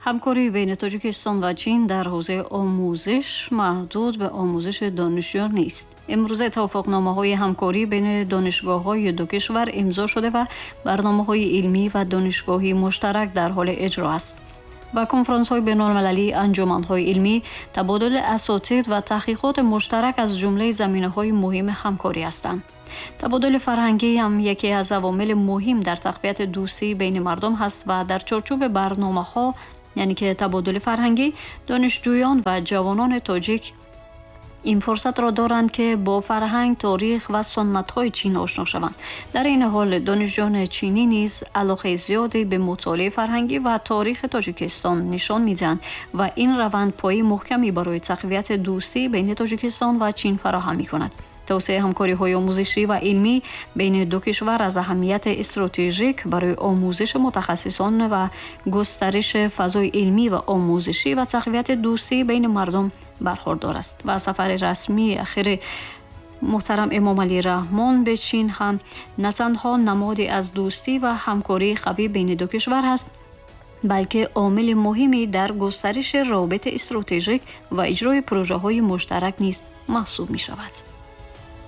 Ҳамкории байни Тоҷикистон ва Чин дар ҳавзаи омӯзиш маҳдуд ба омӯзиши донишҷӯён нест. Имрӯза тавофуқномаҳои ҳамкорӣ байни донишгоҳҳои ду кишвар имзо шуда ва барномаҳои илмӣ ва донишгоҳии муштарак дар ҳоли иҷро аст. Ва конфронсҳои байналмилалӣ, анҷуманҳои илмӣ, табодули асотид ва таҳқиқоти муштарак аз ҷумлаи заминаҳои муҳими ҳамкорӣ ҳастанд. Табодули фарҳангӣ ҳам яке аз авомили муҳим дар тақвияти дӯстии байни мардум ҳаст ва дар чорчӯби барномаҳо, яъне ки табодули фарҳангӣ, донишҷӯён ва ҷавонони тоҷик ин фурсатро доранд, ки бо фарҳанг, таърих ва суннатҳои Чин ошно шаванд. Дар ин ҳол донишҷӯёни чинӣ низ алоқаи зиёде ба мутолиаи фарҳангӣ ва таърихи Тоҷикистон нишон медиҳанд ва ин раванд пояи муҳкаме барои тақвияти дӯстӣ байни Тоҷикистон ва Чин фароҳам мекунад. Тавсеаи ҳамкориҳои омӯзишӣ ва илмӣ байни ду кишвар аз аҳамияти стратежик барои омӯзиши мутахассисон ва густариши фазои илмӣ ва омӯзишӣ ва тақвияти дӯстӣ байни мардум бархурдор аст. Ва сафари расмии ахири муҳтарам Эмомалӣ Раҳмон ба Чин ҳам на танҳо намоде аз дӯстӣ ва ҳамкории қавӣ байни ду кишвар ҳаст, балки омили муҳиме дар густариши равобити стратежик ва иҷрои прожаҳои муштарак низ маҳсуб мешавад.